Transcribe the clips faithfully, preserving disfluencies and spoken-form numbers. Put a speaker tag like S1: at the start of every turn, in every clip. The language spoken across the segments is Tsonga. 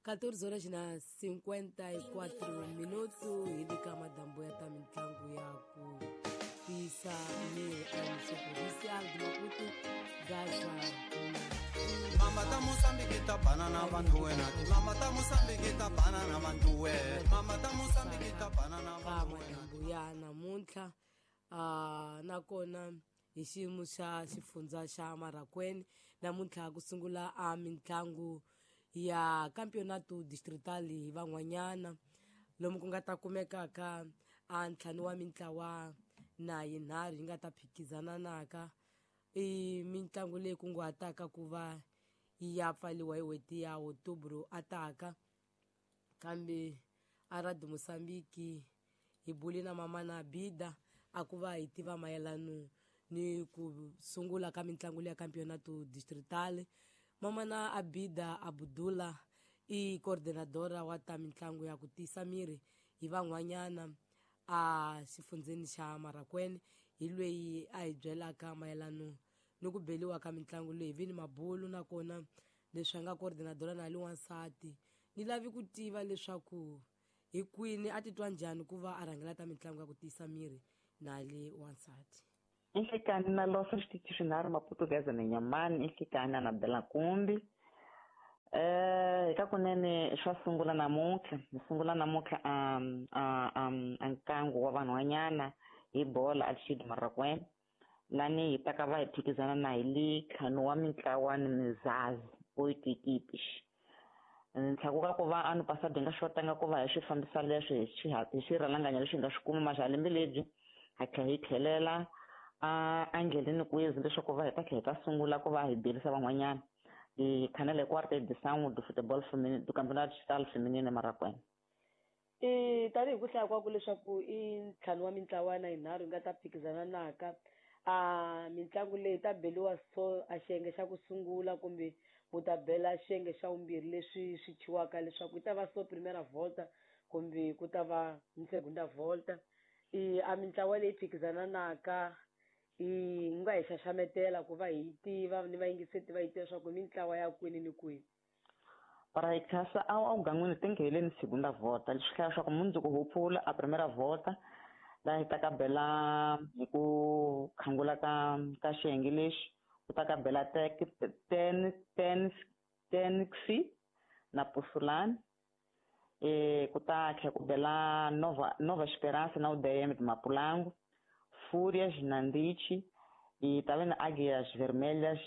S1: quatorze horas na cinquenta e quatro minutos hi le ka madambu ya ta mitlangu ya ku tiyisa miri eMunicípio Provincial de Maputo, Gaza.
S2: Mama ta Mozambique ta banana bantu wena. Mama ta Mozambique ta banana bantu wena. Mama ta Mozambique ta banana
S1: ka
S2: bantu wena.
S1: Madambu ya namuntlha uh, nakona hi xiyimo xa xifundza xa Marracuene namuntlha ku sungula a mitlangu ya campeonato distrital hi van'wanyana lomu ku nga ta kumekaka a ntlhanu wa mintlawa na yinharhu yi nga ta phikizana naka i mitlangu leyi kunguhataka ku va yi ya pfaliwa hi n'hweti ya Outubro ataka kambe a Radio Mozambique hi bule na mama na Bida a ku va hi tiva mayelano ni ku sungula ka mitlangu leya campeonato distrital. Mama na Abida Abdullah i coordinadora wa ta mitlangu ya ku tiyisa miri hi van'wanyana a xifundzeni xa Marracuene hi lweyi a hi byelaka mayelano ni ku beliwa ka mitlangu leyi vi ni mabulu nakona leswi a nga coordinadora na li wansati ni lavi ku tiva leswaku hi kwini a titwa njhani ku va a rhangela ta mitlangu ya ku tiyisa miri na li wansati.
S3: Nhlikani na losa xitichi swinharhu Maputo Gaza na Nyamani nhlikani na Belakumbi. Eh eka kunene swa sungula namuntlha hi sungula namuntlha um um nkangu wa vanhwanyana hi bola Alcide Marracuene lani hi ta ka va hi phikizana na hi le ntlhanu wa mintlawa ni mizazi oito equipes. Ntlhaku ka ku va ano passado hi nga xotanga ku va hi swi fambisa leswi hi swi hi swirhalanganya leswi hi nga swi kuma maxa lembe lebyi ha tlhela hi tlhelela a endleleni kwizi leswaku va hi ta tlhela hi ta sungula ku va hi berisa van'wanyana hi khanele quarta edição do futebol feminino do campeonato estadual feminino Marracuene.
S1: I tanihi ku hlaya kwaku leswaku i ntlhanu wa mintlawa na yinharhu yi nga ta phikizana naka a mitlangu leyi ta beliwa so a xiyenge xa ku sungula kumbe mu ta bela xiyenge xa vumbirhi leswi swi thyiwaka leswaku yi ta va so primera volta kumbe ku ta va segunda volta. I a mintlawa leyi phikizana naka i nga hi xaxametela ku va hi tiva ni vayingiseti va yi tiva leswaku i mintlawa ya kwini ni kwini.
S3: Para hi khasa a wu gan'wini ti ngheleni segunda volta leswi hlaya leswaku mundzuku ho pfula a primera volta laha hi ta ka bela hi ku khangula ka ka xiyenge lexi ku ta ka bela ten ten tenxi na Pusulani eh ku ta tlhela ku bela Nova Nova Esperança na U D M de Mapulango, Fúrias na Ndichi e ta na Águias Vermelhas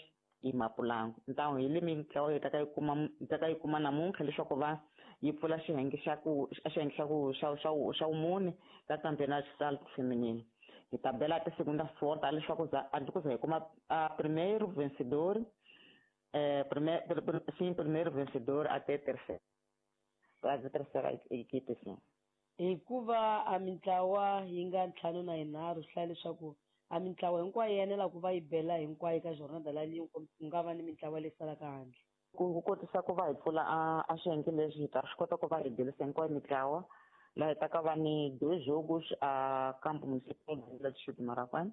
S3: e Mapulango. Então hi le mintlawa yi ta ka yi kuma yi ta ka yi kuma namuntlha leswaku va yi pfula xiyenge xa ku xiyenge xa ku xa xa xa vumune ka campeonato estadual feminino. Hi ta bela ti segunda volta leswaku za a ku za hi kuma a primeiro vencedor eh primeiro sim primeiro vencedor até terceiro a terceira equipe sim.
S1: Hikuva a mintlawa yi nga ntlhanu na yinharhu swi hlaya leswaku a mintlawa hinkwayo yi enela ku va yi bela hinkwayo ka jornada leyi ku nga va ni mintlawa leyi salaka handle.
S3: Ku kotisa ku va hi pfula a a xiyenge lexi hi ta swi kota ku va hi belisa hinkwayo mitlawa laha hi ta ka va ni dois jogos a campo municipal de Distrito de Marracuene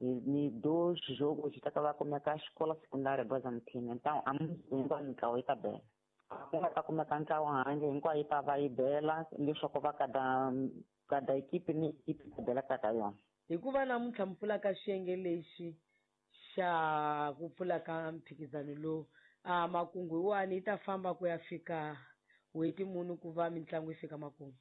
S3: ni dois jogos hi ta ka va kumeka xikola secundária Guazamtini. Então a hinkwayo mitlawa yi ta bela ku nga ta kumeka ntlawa handle hinkwayo yi ta va yi bela leswaku va kada kada equipe ni equipe ta bela ka ka yona.
S1: Hikuva namuntlha mi pfula ka xiyenge lexi xa ku pfula ka mphikizano lowu a makungu yiwani yi ta famba ku ya fika n'hweti muni ku va mitlangu yi fika makumu?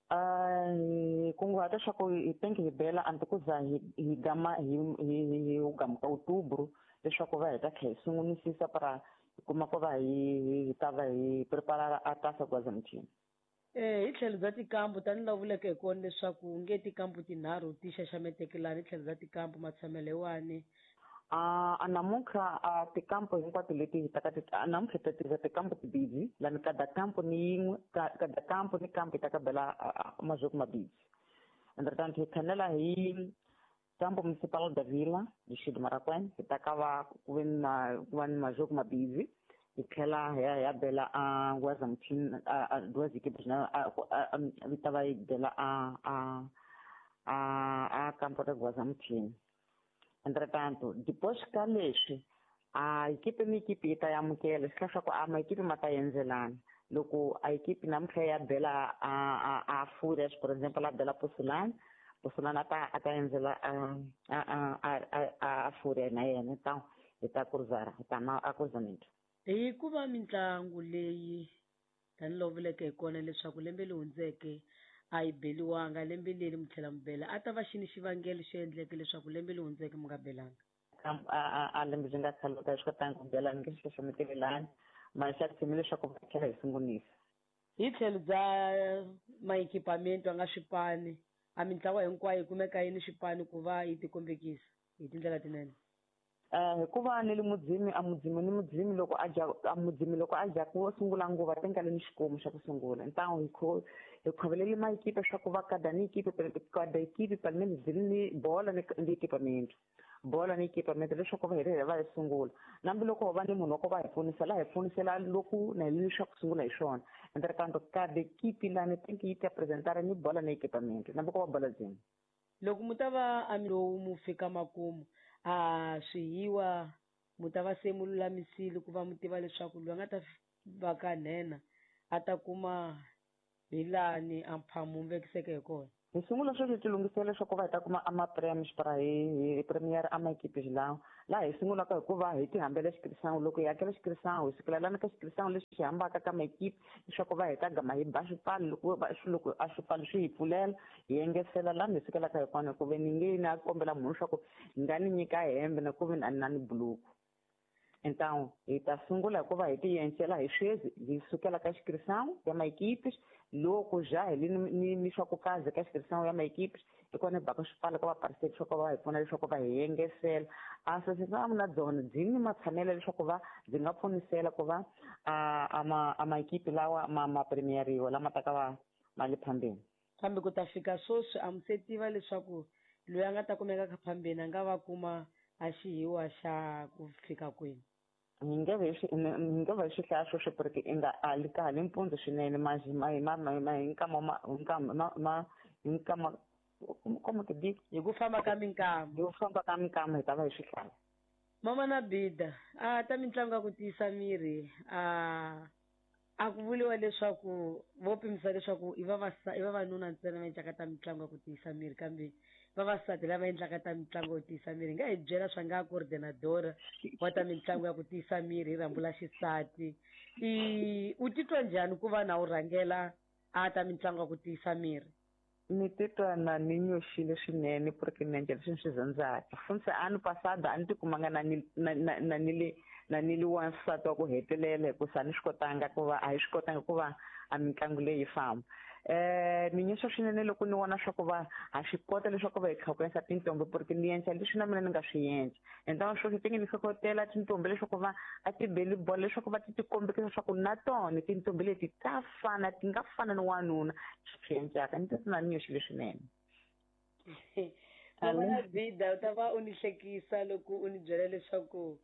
S3: Hi kunguhata leswaku hi tenge hi bela hambi ku za hi hi gama hi hi hi gamuka Outubro leswaku va hi ta tlhela hi sungunisisa para hi kuma ku va hi hi ta va hi prepara a Taça Guazamtini.
S1: Eh hi tlhelo bya tikambu tanihi laha vuleke hi kona leswaku nge tikambu tinharhu ti xaxameteke lani hi tlhelo bya tikambu matshamelo yiwani.
S3: A namuntlha a tikampo hinkwato leti hi ta ka ti namuntlha hi ta tirhisa tikampo timbirhi lani kada kampo ni yin'we kada kampo ni kampo hi ta ka bela mazoko mabirhi. Entretanto hi khanela hi campo municipal da Vila Distrito de Marracuene hi ta ka va ku ve na ku va ni mazoko mabirhi hi tlhela hi ya hi ya bela a Guazamtini a duas equipes na vi ta va yi bela a a a a campo da Guazamtini. Entretanto, depois ka leswi A ekipe ni ekipe yi ta amukela swi hlaya swa ku a maekipe ma ta endzelana. Loko a ekipe namuntlha ya bela a a a Furious, for example, a bela Posulana, Posulana a ta a ta endzela a a a a a Furious na yena ta hi ta cruzar hi ta ma a cruzamento.
S1: Hi ku va mitlangu leyi tanihiloko vuleke hi kona leswaku lembe leri hundzeke a yi beliwanga, lembe leri mi tlhela mi bela, a ta va xini xivangelo xi endleke leswaku lembe leri hundzeke mi nga belanga?
S3: A a a lembe byi nga tshama swi kotanga ku bela ni nge swi xaxametelelani mara xa tshembi leswaku va tlhela hi sungulisa.
S1: Hi tlhelo bya maekipamento a nga swipani, a mintlawa hinkwayo yi kumeka yi ni swipani ku va yi tikombekisa hi tindlela tinene?
S3: Hikuva ni le mudzimi a mudzimi ni mudzimi loko a dya a mudzimi loko a dya ku sungula nguva tenga le ni xikomu xa ku sungula. Ntawo hi kho hi khovelele maekipe swa ku va kada ni ekipe kada ekipe pelo menos byi ni bola ni ni equipamento. Bola ni equipamento leswaku va hi va hi sungula. Nambi loko va ni munhu wa ku va hi pfunisela hi pfunisela loko na hi leswaku sungula hi swona. Entretanto kada ekipe lani tenki yi ta apresentar ni bola ni equipamento. Nambi ko va bola dzimi.
S1: Loko mu ta va a lowu mu fika makumu a swihiwa mu ta va se mu lulamisile ku va mu tiva leswaku loyi a nga ta va ka nhenha a ta kuma hi lani a mphamu mu vekiseke hi kona.
S3: Hi sungula sweswi hi tilunghisela leswaku va hi ta kuma a ma-prem hi hi premier a maekipe lawa laha hi sungulaka hikuva hi ti hambela xikirisango. Loko hi hakela xikirisango hi sukela lani ka xikirisango lexi xi hambaka ka maekipe leswaku va hi ta gama hi ba swipano loko va loko a swipano swi hi pfulela hi engetela lani hi sukelaka hi kona hikuva ni nge na kombela munhu leswaku ni nga ni nyika hembe na ku ve a ni na ni buluku. Então hi ta sungula hikuva hi ti encela hi sweswi hi sukela ka xikirisango ya maekipe loko ja hi ni ni swa ku kaze ka xikirisango ya maekipe hi kona hi baka swipano ka vaparticipate leswaku va hi pfuna leswaku va hi engesela. A association na byona byi ni matshamelo leswaku va byi nga pfunisela ku va a a ma a maekipe lawa ma ma premieriwa lama taka va ma le phambeni.
S1: Kambe ku ta fika sweswi a mi se tiva leswaku loyi a nga ta kumeka ka phambeni a nga va kuma a xihiwa xa ku fika kwini?
S3: Hi nge vi swi hi nge vi swi hlaya sweswo porque i nga a li kahle mpundzu swinene ma ma ma ma ma hi nkama ma hi nkama ma ma hi nkama como que digo
S1: hi ku famba ka minkama
S3: hi ku famba ka minkama hi ta va hi swi hlaya.
S1: Mama na Bida a ta mitlangu ya ku tiyisa miri a a ku vuriwa leswaku vo pimisa leswaku i vavasa i vavanuna ntsena va endlaka ta mitlangu ya ku tiyisa miri kambe vavasati lava endlaka ta mitlangu yo tiyisa miri. Nga hi byela swa nga coordinadora wa ta mitlangu ya ku tiyisa miri hi rhambu la xisati, i u titwa njhani ku va na u rhangela a ta mitlangu ya ku tiyisa miri?
S3: Ni titwa na ni nyoxile swinene porque ni endla leswi ni swi rhandzaka. Funtse ano passado a ni tikumanga na ni na na ni le na ni le wansati wa ku hetelela hikusa a ni swi kotanga ku va a hi swi kotanga ku va a mitlangu leyi famba. Eh ni nyoxa swinene loko ni vona swa ku va ha swi kota leswaku va hi tlhokomela tintombi porque ni endla leswi na mina ni nga swi endla. Então sweswi tinge ni hlohlotela tintombi leswaku va a ti beli bolo leswaku va ti tikombekisa leswaku na tona tintombi leti ta fana ti nga fana ni wanuna swi endlaka. Ni titwa na ni nyoxile swinene.
S1: Mama Bida u ta va u ni hlekisa loko u ni byela leswaku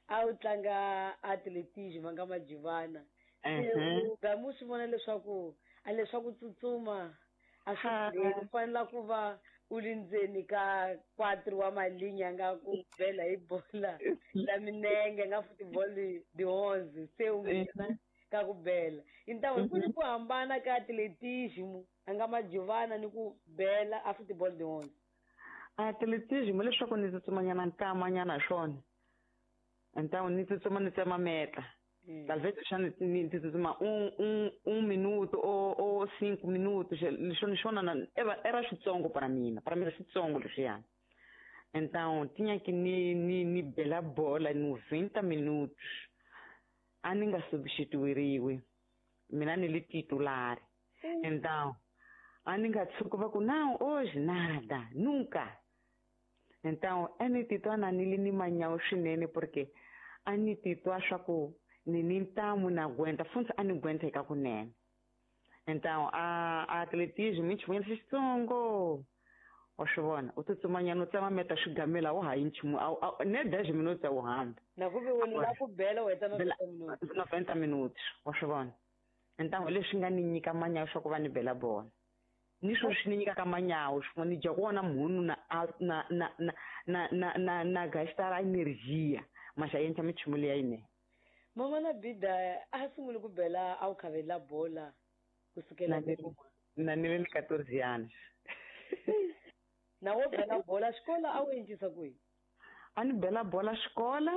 S1: a wu tlanga atletism va nga majivana.
S3: Mhm.
S1: Gamu swi vona leswaku a leswaku tsutsuma a swi u fanela ku va u li ndzeni ka quatro wa malinya nga ku bela hi bola la minenge nga football di onze se u nghena ka ku bela. Então ku ni ku hambana ka atletism a nga majivana ni ku bela a football di onze.
S3: Atletism leswaku ni tsutsumanyana nkamanyana hi swona. Então ni tsutsuma ni tsema meta. Talvez já ni tsutsuma um um um minuto ou ou cinco minutos, leswi swona era era xitsongo para mina, para mina xitsongo leswiya. Então tinha que ni ni ni bela bola noventa minutos. A ni nga substituiriwi. Mina ni li titular. Então a ni nga tshuki va ku não hoje nada, nunca. Então a ni titwa na ni li ni manyawu swinene porque a ni titwa swa ku ni ni ntamu na aguenta, funtsi a ni aguenta eka kunene. Então a a atletismo i nchumu xitsongo. Wa swi vona u tsutsumanyana u tsema meta swigamela wa ha yi nchumu ne dez minutos a wu hamba.
S1: Na ku ve wena la ku bela u heta noventa minutos.
S3: noventa minutos wa swi vona. Então leswi nga ni nyika manyawu swa ku va ni bela bola. Ni swo swi ni nyikaka manyawu swi ni dya ku vona munhu na na na na na na na na gastar energia. Ma xa endla minchumu leya yinene.
S1: Mamana Bida a sungule ku bela a wu khavela bola kusukela
S3: Na ni
S1: loko
S3: na ni ri quatorze anos.
S1: Na wo bela bola xikolo a wu endlisa ku yini?
S3: A ni bela bola xikola,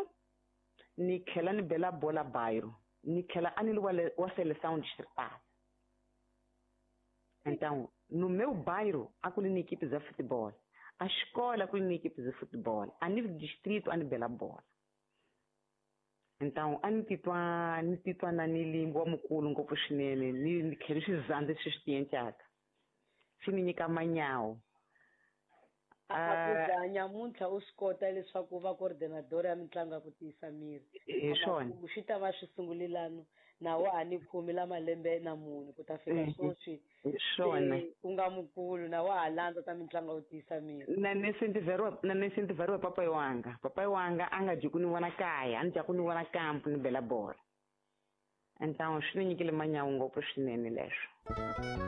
S3: ni tlhela ni bela bola bairro, ni tlhela a ni ri wa le wa seleção distrital. Então, no meu bairro, há ku ri ni equipe za futebol. A escola ku ri ni equipe za futebol. A nível de distrito, a ni bela bola. Então, a ni titwa ni titwa na ni ri wa mukulu ngopfu swinene, ni ni tlhela swi zandza leswi swi ti endlaka. Swi ni nyika manyawu.
S1: A ku
S3: Ah,
S1: za nyamuntlha u swi kota leswaku u va coordinador ya mitlangu ya ku tiyisa miri.
S3: Hi swona.
S1: Amakumu swi ta va swi sungulelano na wa ha ni khume la malembe na mune ku ta fika
S3: Mhm.
S1: sweswi
S3: Hi swona.
S1: se u nga mukulu na wa ha landza ta mitlangu ya ku tiyisa miri.
S3: Na ni incentiveriwa na ni incentiveriwa papayi wanga. Papayi wanga a nga dyi ku ni vona kaya, a ni dya ku ni vona kampo ni bela bola. Então swi ni nyikile manyawu ngopfu swinene leswo.